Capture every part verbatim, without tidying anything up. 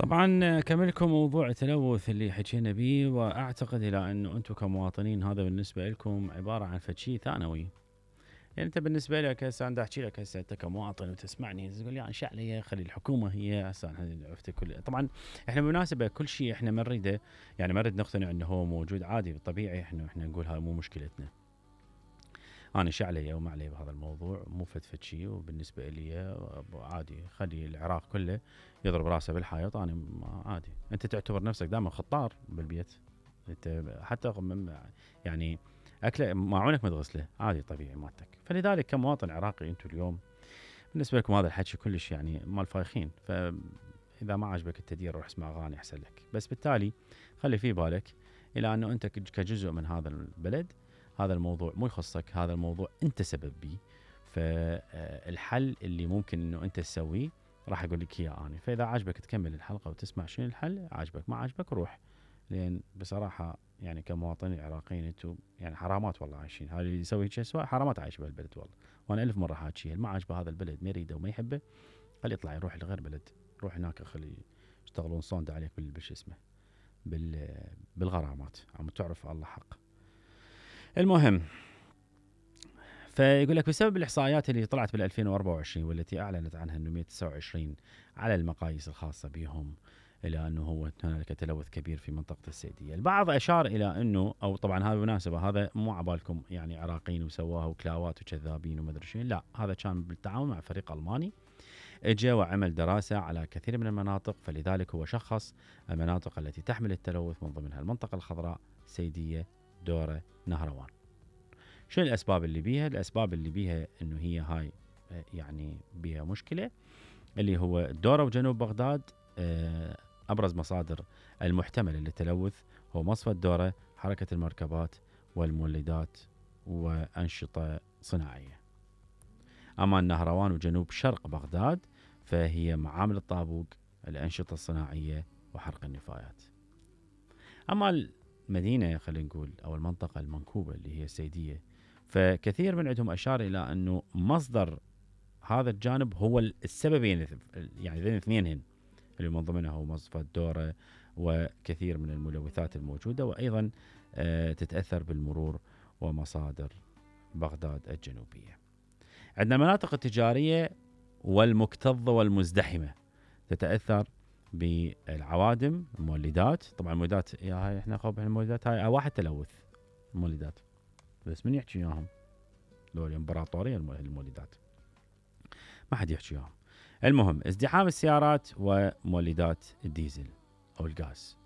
طبعا اكمل لكم موضوع التلوث اللي حكينا به، واعتقد الى انه انتم كمواطنين هذا بالنسبه لكم عباره عن فد شيء ثانوي. يعني انت بالنسبه لك هسه انا احكي لك هسه انت كمواطن وتسمعني تقول لي ايش علي خلي الحكومه هي هسه عرفت كل. طبعا احنا بالمناسبه كل شيء احنا ما نريده، يعني ما نريد نقتنع انه هو موجود عادي طبيعي، احنا احنا نقول هاي مو مشكلتنا. انا ايش علي وما علي بهذا الموضوع، مو فد فد شيء، وبالنسبه لي عادي خلي العراق كله يضرب راسه بالحائط، انا عادي. انت تعتبر نفسك دائما خطار بالبيت، انت حتى يعني اكله ماعونك ما تغسله عادي طبيعي مالتك. فلذلك كمواطن عراقي انتم اليوم بالنسبه لكم هذا الحكي كلش يعني مال فايخين، فاذا ما عجبك التدير روح اسمع اغاني احسن لك. بس بالتالي خلي في بالك الى انه انت كجزء من هذا البلد، هذا الموضوع مو يخصك، هذا الموضوع انت سبب بيه. فالحل اللي ممكن انه انت تسويه راح اقول لك اياه انا. فاذا عجبك تكمل الحلقه وتسمع شنو الحل، عجبك ما عجبك روح. لان بصراحه يعني كمواطنين عراقيين انتم يعني حرامات والله عايشين. هذا اللي يسوي هيك اسوا حرامات عايش بهالبلد والله. وانا الف مره حاكي ما عجبه هذا البلد ما يريده وما يحبه خليه يطلع يروح لغير بلد، روح هناك خلي يشتغلون صوند عليك بالش اسمه بال بالغرامات عم تعرف الله حق. المهم، فيقول لك بسبب الاحصائيات اللي طلعت بال ألفين وأربعة وعشرين والتي اعلنت عنها انه مئة وتسعة وعشرين على المقاييس الخاصه بهم، الى انه هو هنالك تلوث كبير في منطقه السيديه. البعض اشار الى انه، او طبعا هذا بالمناسبه هذا مو عبالكم يعني عراقيين وسواه وكلاوات وكذابين وما ادري شنو، لا هذا كان بالتعاون مع فريق الماني اجى وعمل دراسه على كثير من المناطق. فلذلك هو شخص المناطق التي تحمل التلوث من ضمنها المنطقه الخضراء، سيديه، دوره، نهروان. شو الاسباب اللي بيها؟ الاسباب اللي بيها انه هي هاي يعني بيها مشكله، اللي هو الدوره وجنوب بغداد. ابرز مصادر المحتمله للتلوث هو مصفى الدوره، حركه المركبات والمولدات وانشطه صناعيه. اما النهروان وجنوب شرق بغداد فهي معامل الطابوق، الانشطه الصناعيه وحرق النفايات. اما المدينه خلينا نقول او المنطقه المنكوبه اللي هي السيديه، فكثير من عندهم اشار الى انه مصدر هذا الجانب هو السببين، يعني ذين اثنينهن اللي من ضمنها هو مصفى الدوره وكثير من الملوثات الموجوده، وايضا تتاثر بالمرور ومصادر بغداد الجنوبيه. عندنا المناطق التجاريه والمكتظه والمزدحمه تتاثر بالعوادم، المولدات. طبعا المولدات يا هاي احنا خوف المولدات هاي واحد تلوث المولدات، بس من يحكي وياهم لو الامبراطوريه المولدات ما حد يحكي وياهم. المهم ازدحام السيارات ومولدات الديزل او الغاز.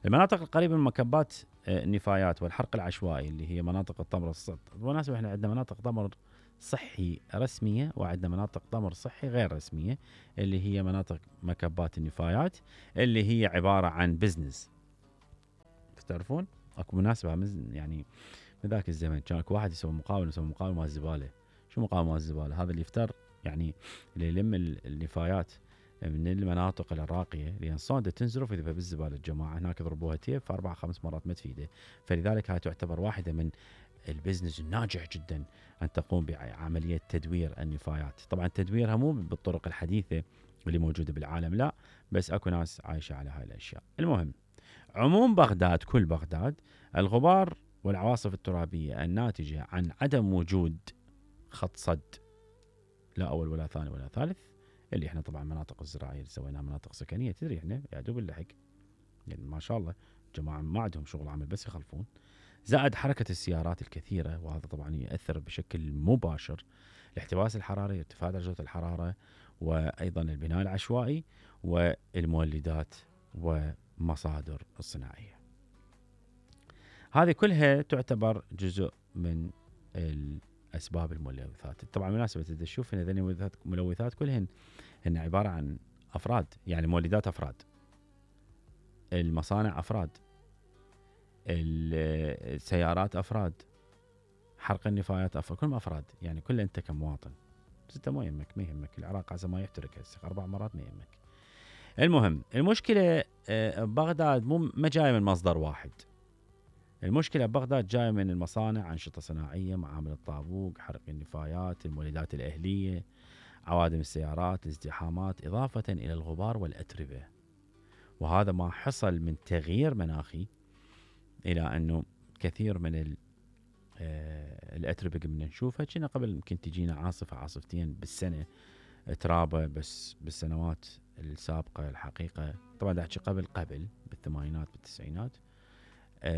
المناطق القريبه من مكبات النفايات والحرق العشوائي اللي هي مناطق الطمر الصحي. بالمناسبه احنا عندنا مناطق طمر صحي رسميه وعندنا مناطق طمر صحي غير رسميه، اللي هي مناطق مكبات النفايات اللي هي عباره عن بزنس. تعرفون اكو مناسبه يعني من ذاك الزمن كان اكو واحد يسوي مقاومه يسوي مقاومه مال الزباله. شو مقاومه مال الزباله؟ هذا اللي يفتر يعني اللي يلم النفايات من المناطق الراقيه، لان صوده تنزرف يذبها بالزباله. الجماعه هناك يضربوها تيب في اربع خمس مرات ما تفيده. فلذلك هاي تعتبر واحده من البزنس الناجح جدا ان تقوم بعمليه تدوير النفايات. طبعا تدويرها مو بالطرق الحديثه اللي موجوده بالعالم، لا، بس اكو ناس عايشه على هاي الاشياء. المهم عموم بغداد، كل بغداد، الغبار والعواصف الترابيه الناتجه عن عدم وجود خط صد، لا اول ولا ثاني ولا ثالث، اللي احنا طبعا مناطق الزراعيه اللي سويناها مناطق سكنيه. تدري احنا يا دوب اللحق يعني ما شاء الله جماعه ما عندهم شغل عمل بس يخلفون. زائد حركه السيارات الكثيره، وهذا طبعا ياثر بشكل مباشر الاحتباس الحراري، ارتفاع درجه الحراره، وايضا البناء العشوائي والمولدات ومصادر الصناعيه. هذه كلها تعتبر جزء من الاسباب الملوثات. طبعا مناسبه تشوف ان هذه الملوثات كلهن هن عباره عن افراد، يعني مولدات افراد، المصانع افراد، السيارات افراد، حرق النفايات افراد، كلهم افراد. يعني كل انت كمواطن بس انت ما يهمك، ما يهمك العراق عز ما يحترق هسه اربع مرات ما يهمك. المهم المشكله بغداد مو ما جايه من مصدر واحد. المشكله بغداد جايه من المصانع، انشطه صناعيه، معامل الطابوق، حرق النفايات، المولدات الاهليه، عوادم السيارات، الازدحامات، اضافه الى الغبار والاتربه. وهذا ما حصل من تغيير مناخي الى انه كثير من ال الاتربه اللي نشوفها كنا قبل يمكن تجينا عاصفه عاصفتين بالسنه ترابه، بس بالسنوات السابقه الحقيقه طبعا دا احكي قبل قبل بالثمانينات بالتسعينات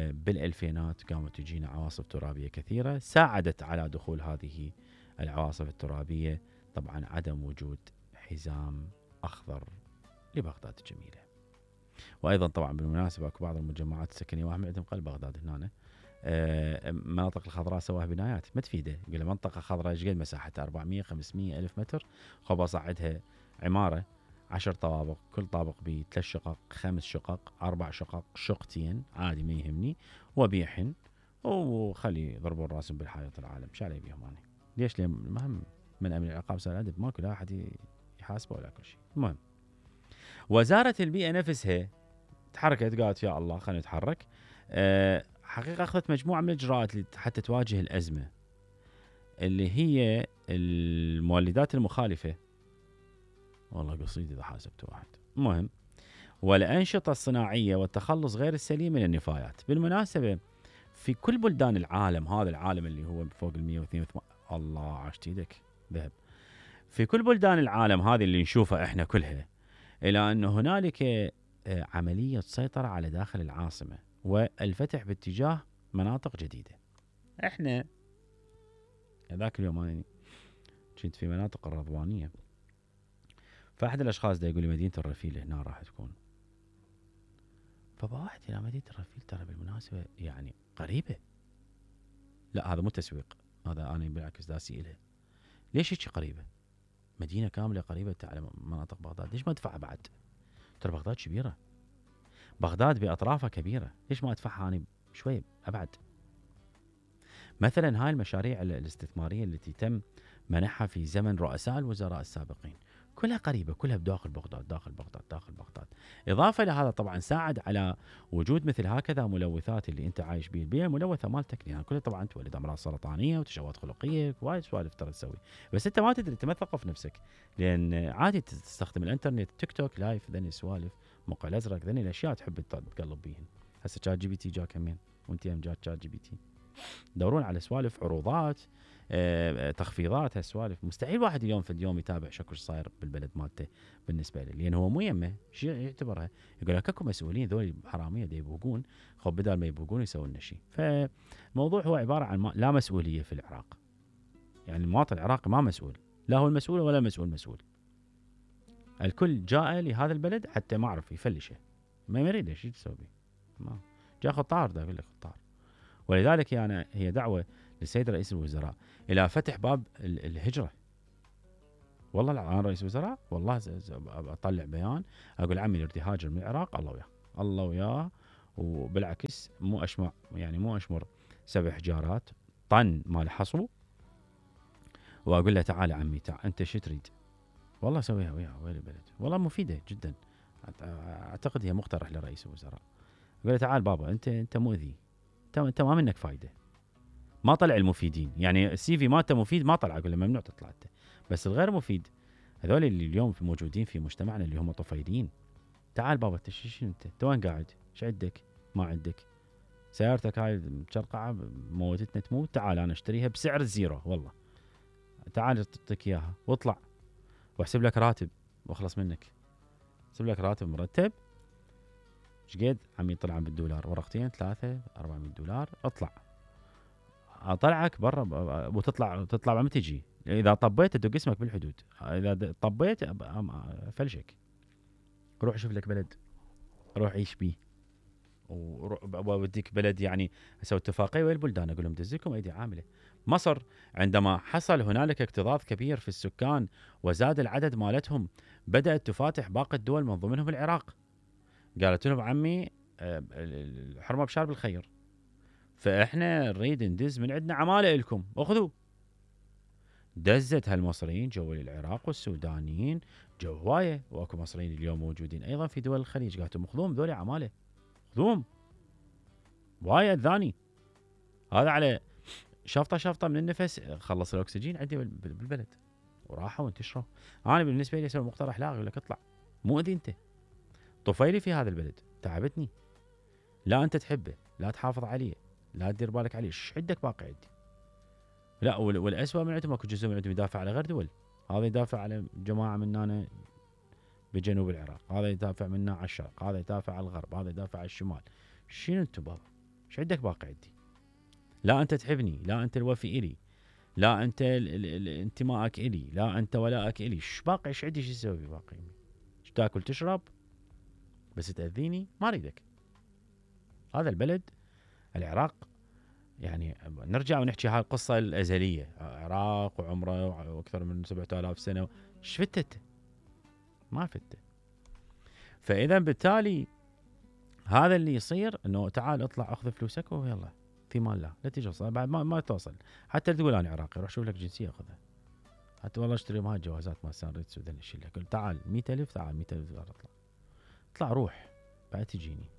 بالالفينات قامت تجينا عواصف ترابيه كثيره ساعدت على دخول هذه العواصف الترابيه. طبعا عدم وجود حزام اخضر لبغداد الجميله. وايضا طبعا بالمناسبه اكو بعض المجمعات السكنيه واهم عندهم قلب بغداد هنا مناطق الخضراء سواها بنايات ما تفيده، يقول منطقه خضراء ايش قد مساحتها أربعمية خمسمية الف متر، خب اصعدها عماره عشر طوابق كل طابق بثلاث شقق خمس شقق اربع شقق شقتين عادي ما يهمني وبيحن وخلي يضربون راسهم بالحائط العالم ايش علي بيهم انا؟ ليش؟ ليه المهم من امن العقاب صار ادب ماكو لا احد يحاسبه ولا كل شيء. المهم وزاره البيئه نفسها تحركت قالت يا الله خلينا نتحرك. أه حقيقه اخذت مجموعه من الاجراءات حتى تواجه الازمه اللي هي المولدات المخالفه. والله قصيد اذا حاسبت واحد. المهم والانشطه الصناعيه والتخلص غير السليم من النفايات. بالمناسبه في كل بلدان العالم، هذا العالم اللي هو فوق ال مية واثنين وثمانين الله عاشت ايدك ذهب، في كل بلدان العالم هذه اللي نشوفها احنا كلها، الى ان هنالك عمليه سيطره على داخل العاصمه والفتح باتجاه مناطق جديده. احنا ذاك اليوم انا كنت في مناطق الرضوانيه، فاحد الاشخاص ده يقول لي مدينه الرفيل هنا راح تكون، فبواحد الى مدينه الرفيل ترى بالمناسبه يعني قريبه. لا هذا مو تسويق، هذا انا بالعكس داسي الها. ليش هيك قريبه؟ مدينه كامله قريبه على مناطق بغداد، ليش ما ادفعها بعد؟ ترى بغداد كبيره، بغداد باطرافها كبيره، ليش ما ادفعها انا شوي ابعد؟ مثلا هاي المشاريع الاستثماريه التي تم منحها في زمن رؤساء الوزراء السابقين كلها قريبه، كلها بداخل بغداد داخل بغداد داخل بغداد. اضافه لهذا طبعا ساعد على وجود مثل هكذا ملوثات اللي انت عايش بيه، البيئه الملوثه مالتك يعني كلها طبعا تولد امراض سرطانيه وتشوهات خلقيه وايد سوالف ترى تسوي، بس انت ما تدري، انت ما تثقف نفسك، لان عادي تستخدم الانترنت تيك توك لايف ذني السوالف موقع الازرق ذني الاشياء تحب تقلب بيهن. هسه شات جي بي تي جاك همين وانت يم جاك شات جي بي تي، دورون على سوالف عروضات آه، تخفيضات هالسوالف. مستحيل واحد اليوم في اليوم يتابع شكو صاير بالبلد مالته بالنسبه له، لان هو مو يمه شيء يعتبرها، يقول لك اكو مسؤولين ذول حراميه دا يبوقون، خب بدل ما يبوقون يسوون لنا شيء. فالموضوع هو عباره عن ما لا مسؤوليه في العراق، يعني المواطن العراقي ما مسؤول، لا هو المسؤول ولا المسؤول مسؤول، الكل جاء لهذا البلد حتى ما عرف يفلشه، ما يريد شيء تسوي ما جاء خطار، دا يقول لك خطار. ولذلك يعني هي دعوه للسيد رئيس الوزراء الى فتح باب الهجره. والله انا رئيس وزراء والله اطلع بيان اقول عمي يريد يهاجر من العراق الله وياه الله وياه، وبالعكس مو اشمع يعني مو اشمر سبع حجارات طن مال حصو واقول له تعال عمي تعال انت شو تريد؟ والله اسويها وياه وين البلد، والله مفيده جدا، اعتقد هي مقترح لرئيس الوزراء. اقول له تعال بابا انت انت مؤذي، انت ما منك فايده، ما طلع المفيدين، يعني السي في مالته مفيد ما طلع، اقول له ممنوع تطلع انت، بس الغير مفيد هذول اللي اليوم في موجودين في مجتمعنا اللي هم طفيلين. تعال بابا انت شنو انت؟ انت وين قاعد؟ ايش عندك؟ ما عندك؟ سيارتك هاي مشرقعه موتتنا تموت، تعال انا اشتريها بسعر الزيرو والله. تعال اعطيك اياها واطلع واحسب لك راتب واخلص منك. احسب لك راتب مرتب ايش قد؟ عم يطلع بالدولار ورقتين ثلاثه أربعمية دولار، اطلع اطلعك برا وتطلع تطلع ما تجي، اذا طبيت ادق اسمك بالحدود، اذا طبيت فلشك. روح شوف لك بلد روح عيش بيه، ووديك بلد يعني اسوي اتفاقيه ويا البلدان اقول لهم دزكم ايدي عامله. مصر عندما حصل هنالك اكتظاظ كبير في السكان وزاد العدد مالتهم بدات تفاتح باقي الدول من ضمنهم العراق، قالت لهم عمي الحرمه بشارب الخير، فاحنا نريد ندز من عندنا عماله لكم اخذوا. دزت هالمصريين جو العراق والسودانيين جو هوايه، واكو مصريين اليوم موجودين ايضا في دول الخليج، قالت لهم خذوهم ذولي عماله خذوهم وايد ذاني. هذا على شفطه شفطه من النفس خلص الاكسجين عندي بالبلد وراحوا وانتشروا. انا بالنسبه لي اسوي مقترح لا اقول لك اطلع مؤذي انت طفيلي في هذا البلد، تعبتني. لا انت تحبه، لا تحافظ عليه، لا تدير بالك عليه، ايش عندك باقي عندي؟ لا والاسوء من عندهم اكو جزء من عندهم يدافع على غير دول، هذا يدافع على جماعه من هنا بجنوب العراق، هذا يدافع منا على الشرق، هذا يدافع على الغرب، هذا يدافع على الشمال. شنو انتم بابا؟ ايش عندك باقي عندي؟ لا انت تحبني، لا انت الوفي الي، لا انت انتمائك الي، لا انت ولائك الي، ايش باقي؟ ايش عندي؟ ايش اسوي باقي؟ ايش تاكل تشرب؟ بس تاذيني ما اريدك. هذا البلد العراق، يعني نرجع ونحكي هاي القصه الازليه، عراق وعمره واكثر من سبعة آلاف سنه، ايش فتت؟ ما فتت. فاذا بالتالي هذا اللي يصير انه تعال اطلع اخذ فلوسك ويلا في مال الله، لا تيجي بعد ما, ما توصل حتى تقول انا عراقي، روح شوف لك جنسيه خذها، حتى والله اشتري هاي الجوازات مال سانريتس وذن اشيل لك، تعال مية ألف، تعال مية ألف دولار اطلع اطلع روح بعد تجيني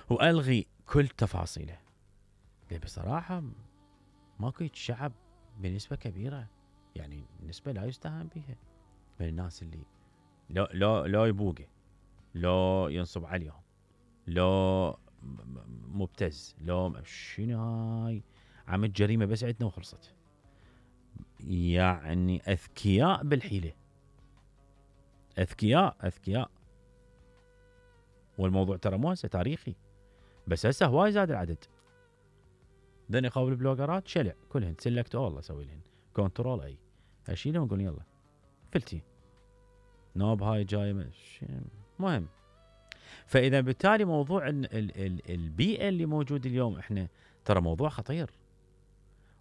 والغي كل تفاصيله. بصراحه ماكو شعب بنسبه كبيره، يعني نسبه لا يستهان بها من الناس اللي لو لو لو يبوقه، لو ينصب عليهم، لو مبتز، لو شنو هاي عملت جريمه بس عندنا وخلصت. يعني اذكياء بالحيله، اذكياء اذكياء. والموضوع ترى مو هسه تاريخي، بس هسه هواي زاد العدد. ذني قبل البلوجرات شلع كلهن سلكت اول اسوي لهن كنترول اي، اشيلهم اقول يلا فلتي نوب هاي جاي مهم. فاذا بالتالي موضوع ال ال ال البيئه اللي موجود اليوم احنا ترى موضوع خطير.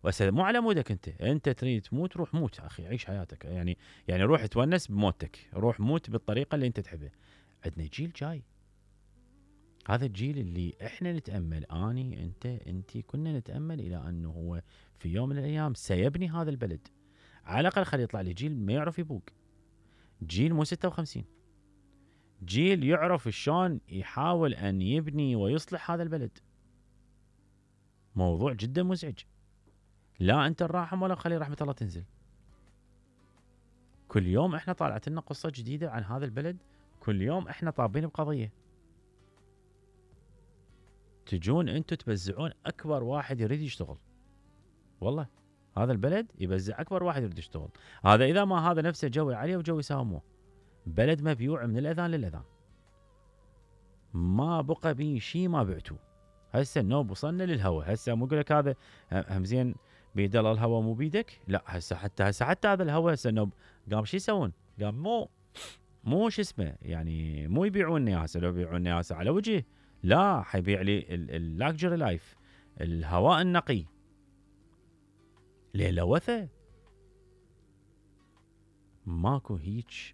وهسه مو على مودك انت، انت تريد تموت روح موت اخي، عيش حياتك، يعني يعني روح تونس بموتك، روح موت بالطريقه اللي انت تحبها. عندنا جيل جاي، هذا الجيل اللي احنا نتامل، اني انت انتي كنا نتامل الى انه هو في يوم من الايام سيبني هذا البلد. على الاقل خلي يطلع لي جيل ما يعرف يبوق، جيل مو ستة وخمسين، جيل يعرف شلون يحاول ان يبني ويصلح هذا البلد. موضوع جدا مزعج. لا انت الراحم ولا خلي رحمه الله تنزل. كل يوم احنا طالعت لنا قصه جديده عن هذا البلد، كل يوم احنا طابين بقضيه. تجون انتم تبزعون اكبر واحد يريد يشتغل، والله هذا البلد يبزع اكبر واحد يريد يشتغل. هذا اذا ما هذا نفسه جوي عليه وجوي يساوموه. بلد مبيوع من الاذان للاذان، ما بقى بيه شيء ما بعتوه. هسه النوب وصلنا للهوى، هسه مو اقول لك هذا هم زين بيد الله الهوى مو بيدك، لا هسه حتى هسه حتى هذا الهوى هسه النوب قام شو يسوون؟ قام مو مو شو اسمه يعني مو يبيعون هسه، لو يبيعون هسه على وجهه، لا حيبيع لي اللاكجري لايف، الهواء النقي، ليه لوثه. ماكو هيج